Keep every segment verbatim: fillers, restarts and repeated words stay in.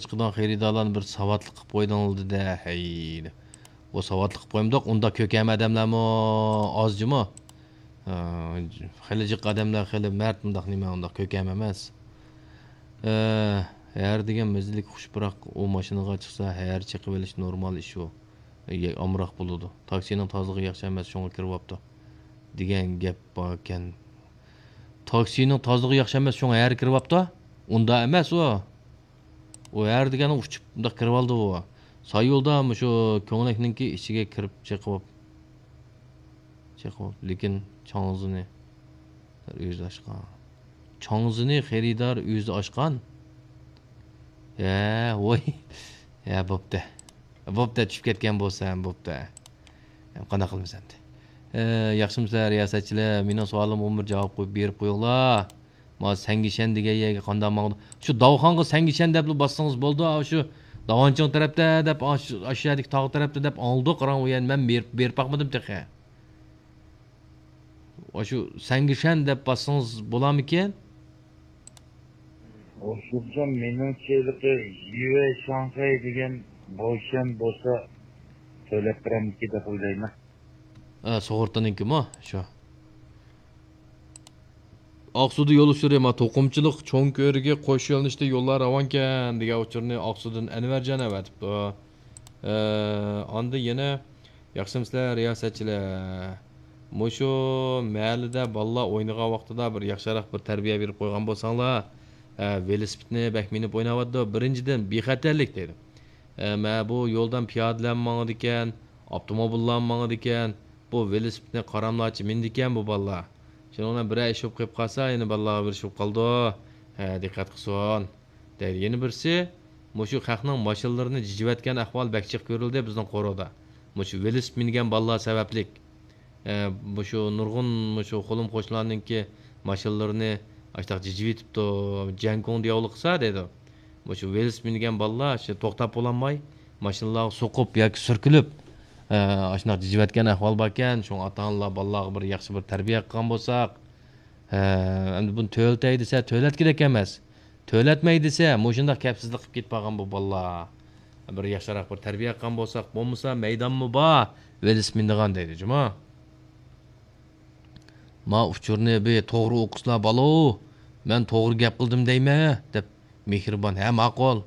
چىقىدىغان خېرىدارلارنى بىر ساۋاتلىق قىلىپ قويدۇڭلار دېدى. ھەي، ئۇ ساۋاتلىق قىلىپ قويمىدۇق، ئۇنداق كۆكەم ئادەملەرمۇ ئازجىمۇ. ئە، خېلى جىق ئادەملەر، خېلى مەرد، مۇنداق نېمە، ئۇنداق كۆكەم ئەمەس. ئە، ھەر دېگەن مەززىلىك خۇش پۇراق، ئۇ ماشىنىغا چىقسا، ھەر چېقىۋېلىش نورمال ئىش ئۇ. ئە، ئامراق بولىدۇ. تاكسىنىڭ تازىلىقى ياخشى ئەمەس، شۇڭا كىرىۋاپتۇ، دېگەن گەپ باركەن. تاكسىنىڭ تازىلىقى ياخشى ئەمەس، شۇڭا ھەر كىرىۋاپتۇ. ئۇنداق ئەمەس ئۇ. ئۇ ھەر دېگەننى ئۇچۇپ مۇنداق كىرىۋالدى ئۇ. سايۇلدا مۇشۇ كۆڭلەكنىڭكى ئىچىگە كىرىپ چېقىۋاپ، چېقىۋاپ، لېكىن چاڭزىنى ئۆزى ئاچقان. چاڭزىنى خېرىدار ئۆزى ئاچقان. ھە، ۋوي. ھە، بوپتۇ. بوپتۇ، چۈشۈپ كەتكەن بولسا ھەم بوپتۇ. ھەم قانداق قىلىمىز ئەمدى؟ ئە، ياخشىمۇسىلەر، رىياسەتچىلەر؟ مېنىڭ سوئالىمغا بىر جاۋاب قويۇپ بېرىپ قويۇڭلار. ما سەنگىشەن دېگەن يەرگە قانداق ماڭىدۇ؟ شۇ داۋخانغا سەنگىشەن دەپلا باسسىڭىز بولىدۇ. ئاشۇ داۋانچىڭ تەرەپتە دەپ، ئاشۇ، ئاشۇ يەردىكى تاغ تەرەپتە دەپ ئاڭلىدۇق. قاراڭ، ئۇ يەرنى مەن بېرىپ، بېرىپ باقمىدىم تېخى. ئاشۇ سەنگىشەن دەپ باسسىڭىز بولارمىكىن؟ ئوشۇقجان، مېنىڭچە ھېلىقى يۈەي شاڭخەي دېگەن بوشەن بولسا تۆلەپ بېرەمدىكىن دەپ ئويلايمەن. ئە، سۇغۇرتىنىڭكىمۇ شۇ. ئاقسۇدا يول ئۇچۇرى، ما، توقۇمىچىلىق چوڭ كۆۋرۈكى قوش يۆنىلىشتە يوللار راۋانكەن دېگەن ئۇچۇرنى ئاقسۇدىن ئەنۋەرجان ئەۋەتىپتۇ. ئە، ئاندىن يەنە ياخشىمۇسىلەر، رىياسەتچىلەر؟ مۇشۇ مەھەللىدە بالىلار ئوينىغان ۋاقتىدا بىر ياخشىراق بىر تەربىيە بېرىپ قويغان بولساڭلار، ئە، ۋېلىسىپىتنى بەك مىنىپ ئويناۋاتىدۇ. بىرىنچىدىن، بىخەتەرلىك دەيدۇ. ئە، مە بۇ يولدىن پىيادىلەرمۇ ماڭىدىكەن، ئاپتوموبىللارمۇ ماڭىدىكەن. بۇ ۋېلىسىپىتنى قاراملاچە مىنىدىكەن بۇ بالىلار. شۇنىڭ بىلەن بىرەر ئىش بولۇپ قېلىپ قالسا، يەنە بالىلارغا بىر ئىش بولۇپ قالىدۇ. ھە، دىققەت قىلسۇن. دەيدۇ. يەنە بىرسى، مۇشۇ خەقنىڭ ماشىنىلىرىنى جىجىۋەتكەن ئەھۋال بەك جىق كۆرۈلدى بىزنىڭ قورۇدا. مۇشۇ ۋېلىسىپىت مىنگەن بالىلار سەۋەبلىك. ئە، مۇشۇ نۇرغۇن مۇشۇ قولۇم قوشنىلارنىڭكى ماشىنىلىرىنى ئاشتاق جىجىۋېتىپتۇ، جيەنگۇڭدا ياۋلىق قىلسا دەيدۇ. مۇشۇ ۋېلىسىپىت مىنگەن بالىلار شۇ توختاپ بولالماي، ماشىنىلارغا سوقۇپ ياكى سۈركىلىپ، ئە، ئاشۇنداق جىجىۋەتكەن ئەھۋال باركەن. شۇڭا ئاتا-ئانىلار بالىلارغا بىر ياخشى بىر تەربىيە قىلغان بولساق، ھە، ئەمدى بۇنى تۆلىتەي دېسە، تۆلەتكۈدەك ئەمەس. تۆلەتمەي دېسە، مۇشۇنداق كەپسىزلىك قىلىپ كېتىپ قالغان بۇ بالىلار. بىر ياخشىراق بىر تەربىيە قىلغان بولساق، بولمىسا مەيدانمۇ بار، ۋېلىسىپىت مىنىدىغان دەيدۇ، جۇما. ما ئۇچۇرنى بىر توغرا ئوقۇسىلا، بالو، مەن توغرا گەپ قىلدىم دەيمەن، دەپ مېھرىبان. ھە، ماقۇل.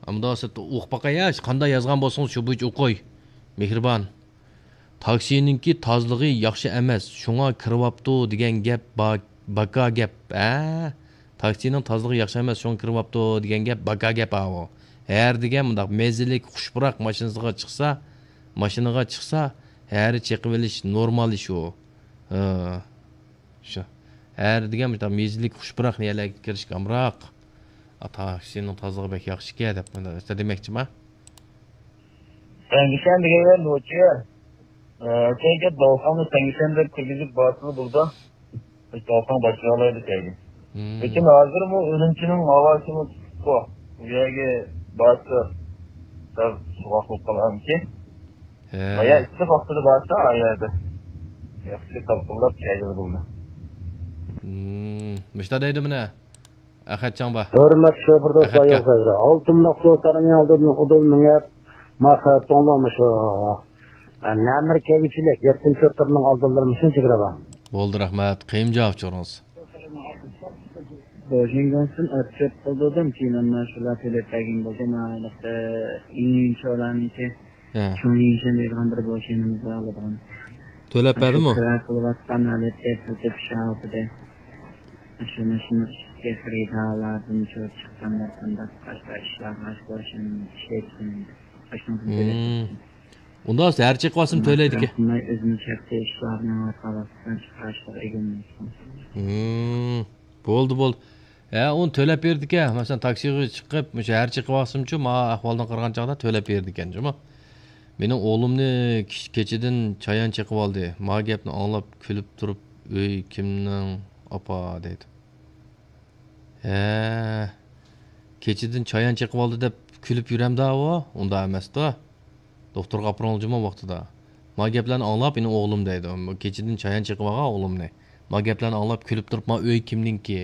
ئەمدى سىز ئوقۇپ باقاي، ھە، قانداق يازغان بولسىڭىز، شۇ بويىچە ئوقۇي. مېھرىبان. تاكسىنىڭكى تازىلىقى ياخشى ئەمەس، شۇڭا كىرىۋاپتۇ دېگەن گەپ با-، باكا گەپ، ھە؟ تاكسىنىڭ تازىلىقى ياخشى ئەمەس، شۇڭا كىرىۋاپتۇ دېگەن گەپ باكا گەپ ئاۋۇ. ھەر دېگەن مۇنداق مەززىلىك، خۇش پۇراق ماشىنىسىغا چىقسا، ماشىنىغا چىقسا، ھەر چېقىۋېلىش نورمال ئىش ئۇ. ھە. شۇ. ھەر دېگەن مۇشۇنداق مەززىلىك، خۇش پۇراق يەرلەرگە كىرىشكە ئامراق. ئا، تاكسىنىڭ تازىلىقى بەك ياخشىكەن دەپ مۇنداق دېمەكچىما؟ سەنگىشەن دېگەن يەر نوچى. ئە، كەيگە داۋخاننى سەنگىشەن دەپ كىرگۈزۈپ بارسىلا بولىدۇ. بىز داۋخان باشلىيالايدۇ كەيگە. لېكىن ھازىرمۇ ئۈرۈمچىنىڭ ھاۋاسىمۇ ئۇسسۇققۇ. بۇ يەرگە بارسا سەل سوغۇق بولۇپ قالارمىكىن؟ ھە. بايا ئىسسىق ۋاقتىدا بارسا، ئا يەردە ياخشى تالقىنلاپ كەيگىلى بولىدۇ. مۇشتا دەيدۇ مانا. ئەخەتجان بار. ھۆرمەتلىك شوپۇر دوستلار، ئەخەتكە. يول سەۋرى. ئالتۇن نەق سوتارنىڭ ئالدىدىن ئۇدۇل مېڭىپ، ماخا توڭلامۇشۇ. نەمىر كەيگۈچىلىك، يەتتىنچى سوتارنىڭ ئالدىلىرى مۇشۇنچە كىرىدۇ. بولدى، رەھمەت. قېيىم جاۋاب چورىڭىز. بوشىڭگونسىن ئەپ چۆپ قىلدۇردۇم، كېيىن ئەمما شۇلار تۆلەپ بەرگەن بولدى، ماۋۇ ئىنچولارنىڭكى. ھە. شۇڭلىشەن دەيدىغان بىر بوشىنىمىز بار ئالىدىغان. تۆلەپ بەردىمۇ؟ كىرا قىلىۋاتقان ھالەتتە تۈزۈپ شاۋۇتىدى. شۇنى، شۇنى ئۈستىگە خېرىدارلاردىن چۆپ چىققاندا قانداق قاشتا ئىشلارغا بوشىنىمىز ئىشلەيدىكەن. ئاشۇنىڭدىن تۆلەپ بەردىم. ئۇنداق ھەر چېقىۋالسىمۇ تۆلەيدىكەن. ئۆزىنى چەكتە ئىشلارنى ۋاقالىقتىن چىقارىشلىق ئىگىلىنىدىكەن. بولدى، بولدى. ھە، ئۇنى تۆلەپ بېرىدىكەن. مەسىلەن، تاكسىغا چىقىپ، مۇشۇ ھەر چېقىۋالسىمچۇ، ماۋۇ ئەھۋالدىن قارىغان چاغدا تۆلەپ بېرىدىكەن جۇمۇ. مېنىڭ ئوغلۇمنى كېچ-، كېچىدىن چايان چېقىۋالدى. ماۋۇ گەپنى ئاڭلاپ كۈلۈپ تۇرۇپ، ئۆي كىمنىڭ، ئاپا دەيدۇ. ھە، كېچىدىن چايان چېقىۋالدى دەپ كۈلۈپ يۈرەمدا ئۇ؟ ئۇنداق ئەمەستۇ. دوختۇرغا ئاپىرىڭلار جۇمۇ ۋاقتىدا. ما گەپلەرنى ئاڭلاپ، يەنە ئوغلۇم دەيدۇ. كېچىدىن چايان چېقىۋالغان ئوغلۇمنى. ما گەپلەرنى ئاڭلاپ كۈلۈپ تۇرۇپ، ما ئۆي كىمنىڭكى؟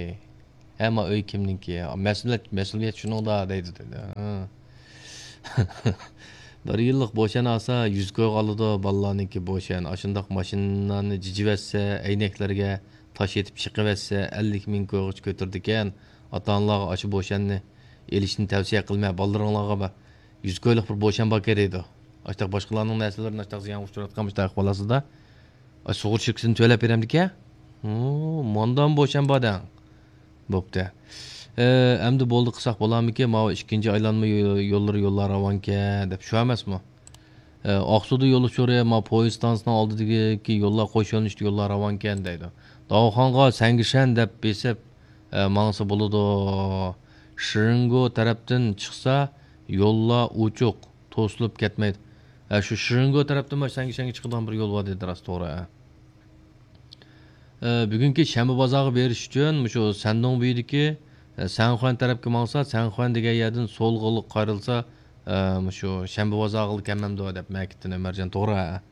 ئەمما ئۆي كىمنىڭكى؟ مەسئۇلىيەت، مەسئۇلىيەت شۇنىڭدا دەيدۇ، دېدى. ھە. بىر يىللىق بوشەن ئالسا، يۈز كويغا ئالىدۇ، بالىلارنىڭكى بوشەن. ئاشۇنداق ماشىنىلارنى جىجىۋەتسە، ئەينەكلەرگە تاش ئېتىپ چېقىۋەتسە، ئەللىك مىڭ كويغىچە كۆتۈرىدىكەن. ئاتا-ئانىلارغا ئاشۇ بوشەننى ئېلىشنى تەۋسىيە قىلمە، بالىلىرىڭلارغا بە-، يۈز كويلۇق بىر بوشەن باركەن دەيدۇ. ئاشتاق باشقىلارنىڭ نەرسىلىرىنى ئاشتاق زىيانغا ئۇچراتقان مۇشۇنداق ئەھۋال ئاستىدا. ئاي، سۇغۇرتا شىركىتىنى تۆلەپ بېرەمدىكەن؟ ھۇ، ماندام بوشەن بار دەڭ. بوپتۇ. ئە، ئەمدى بولدى قىلساق بولارمىكىن؟ ماۋۇ ئىككىنچى ئايلانما يو-، يوللىرى يوللار راۋانكەن دەپ، شۇ ئەمەسمۇ؟ ئە، ئاقسۇدا يول ئۇچۇرى، ما پويىز ستانسىسىنىڭ ئالدىدىكى يوللار قوش يۆنىلىشلىك يوللار راۋانكەن دەيدۇ. داۋخانغا سەنگىشەن دەپ بېسىپ، ئە، ماڭسا بولىدۇ. شرىنگو تەرەپتىن چىقسا، يوللار ئوچۇق، توسۇلۇپ كەتمەيدۇ. ئە، شۇ شرىنگو تەرەپتىن ما سەنگىشەنگە چىقىدىغان بىر يول بار دېدى، راست، توغرا، ئە. ئە، بۈگۈنكى شەنبە بازارغا بېرىش ئۈچۈن مۇشۇ سەندۇڭ بويىدىكى، ئە، سەنخۇەن تەرەپكە ماڭسا، سەنخۇەن دېگەن يەردىن سولغا قايرىلسا، ئە، مۇشۇ شەنبە بازارغا كەلمەمدۇ دەپ مەكىتتىن ئۆمەرجان، توغرا.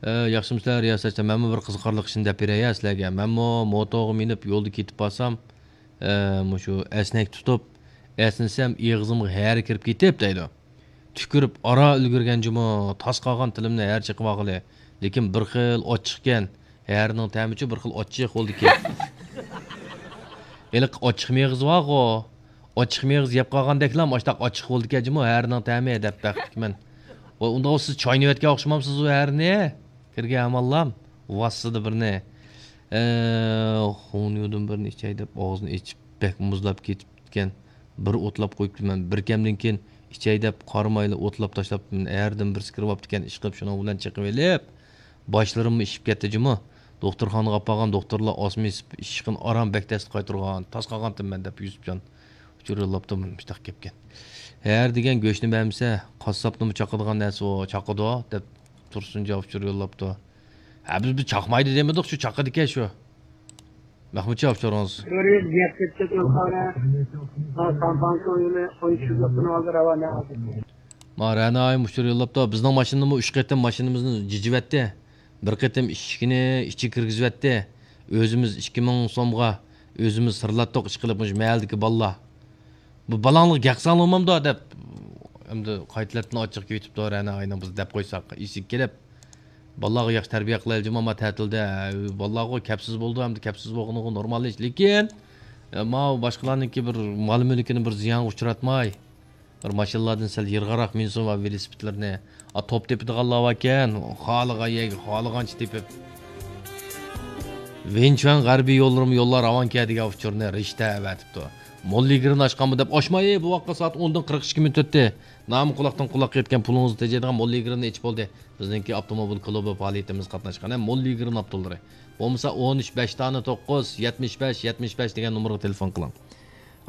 ئە، ياخشىمۇسىلەر رىياسەتچى؟ مەنمۇ بىر قىزىقارلىق ئىشنى دەپ بېرەي ھە سىلەرگە. مەنمۇ موتورغا مىنىپ يولدا كېتىپ بارسام، ئە، مۇشۇ ئەسنەك تۇتۇپ، ئەسنىسەم ئېغىزىمغا ھەرە كىرىپ كېتىپ دەيدۇ. تۈكۈرۈپ ئارا ئۈلگۈرگەن جۇمۇ، تاس قالغان تىلىمنى ھەر چېقىۋالغىلى. لېكىن بىر خىل ئاچچىقكەن، ھەرىنىڭ تەمىچۇ بىر خىل ئاچچىق بولدىكەن. ھېلىقى ئاچچىق مېغىز بارغۇ، ئاچچىق مېغىز يەپ قالغاندەكلا ئاشتاق ئاچچىق بولدىكەن جۇمۇ، ھەرىنىڭ تەمى دەپ بەختلىكمەن. ۋاي، ئۇنداق سىز چاينىۋەتكەن ئوخشىمامسىزۇ ھەرنى؟ كىرگەن ئاماللام، ۋاسسىدە بىرنى. ئە، خۇڭنيۇدىن بىرنى ئىچەي دەپ ئاغزىنى ئېچىپ، بەك مۇزلاپ كېتىپتىكەن. بىر ئوتلاپ قويۇپتىمەن. بىر كەمدىن كېيىن ئىچەي دەپ قارىمايلا ئوتلاپ تاشلاپتىمەن. ھەردىن بىرسى كىرىۋاپتىكەن، ئىشقىلىپ شۇنىڭ بىلەن چېقىۋېلىپ، باشلىرىممۇ ئىششىپ كەتتى جۇمۇ. دوختۇرخانىغا ئاپارغان دوختۇرلار ئاسما ئېسىپ، ئىششىقىنى ئاران بەك تەستە قايتۇرغان، تاس قالغانتىمەن دەپ يۈسۈپجان ئۇچۇر يوللاپتۇ، مۇشۇنداق گەپكەن. ھەر دېگەن گۆشنى بەرمىسە، قاسساپنىمۇ چاقىدىغان نەرسە ئۇ، چاقىدۇ دەپ تۇرسۇنجان ئۇچۇر يوللاپتۇ. ھە، بىز، بىز چاقمايدۇ دېمىدۇق، شۇ چاقىدىكەن شۇ. مەخمۇتجان ئۇچۇرىڭىز. كۆرۈپ گەپ كەتتى، تۆلخانا. ھا، سامپانكا ئويۇنى ئون ئىككى يىللىقتىن ئالدى راۋان ھازىر. ما رەنا ئايىم ئۇچۇر يوللاپتۇ. بىزنىڭ ماشىنىمۇ ئۈچ قېتىم ماشىنىمىزنى جىجىۋەتتى. بىر قېتىم ئىشىكىنى ئىچىگە كىرگۈزۈۋەتتى. ئۆزىمىز ئىككى مىڭ سومغا ئۆزىمىز سىرلاتتۇق، ئىشقىلىپ مۇشۇ مەھەللىدىكى بالىلار. بۇ بالاڭلار گەق ساڭلىمامدۇ دەپ، ئەمدى قايتىلەتتىن ئاچچىق كېتىپتۇ، رەنا ئاينىڭ بىز دەپ قويساق، ئېسىگە كېلىپ، بالىلارغا ياخشى تەربىيە قىلايلى جۇمۇ، ما تەتىلدە، بالىلارغۇ كەپسىز بولىدۇ، ئەمدى كەپسىز بولغىنىغۇ نورمال ئىش. لېكىن، ئە، ماۋۇ باشقىلارنىڭكى بىر مال-مۈلكىنى بىر زىيانغا ئۇچراتماي، بىر ماشىنىلاردىن سەل يىراقراق مىنسۇن ۋە ۋېلىسىپىتلىرىنى. ئا، توپ تېپىدىغانلار باركەن، خالىغان يەرگە خالىغانچە تېپىپ. ۋېنچۈەن غەربىي يوللىرىمۇ يوللار راۋانكەن دېگەن ئۇچۇرنى رىشتە ئەۋەتىپتۇ. موللىگرىنى ئاچقانمۇ دەپ ئاچماي، بۇ ۋاقىتقا سائەت ئوندىن قىرىق ئىككى مىنۇت ئۆتتى. نامى قۇلاقتىن قۇلاققا يەتكەن پۇلىڭىزنى تېجەيدىغان موللىگرىنى ئېچىپ بولدى. بىزنىڭكى ئاپتوموبىل كۇلۇبى پائالىيىتىمىز قاتناشقان موللىگرىن ئاپتوللىرى. بولمىسا ئون ئۈچ، بەش دانە توققۇز، يەتمىش بەش، يەتمىش بەش دېگەن نومۇرغا تېلېفون قىلىڭ.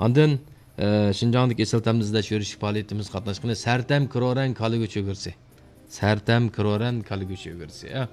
ئاندىن، ئە، شىنجاڭدىكى ئېسىل تەمدە ئىزدەش يۈرۈشلۈك پائالىيىتىمىزگە قاتناشقىلى سەرتەم كرورەن كالا گۆش ئۆگرىسى. سەرتەم كرورەن كالا گۆش ئۆگرىسى، ئە.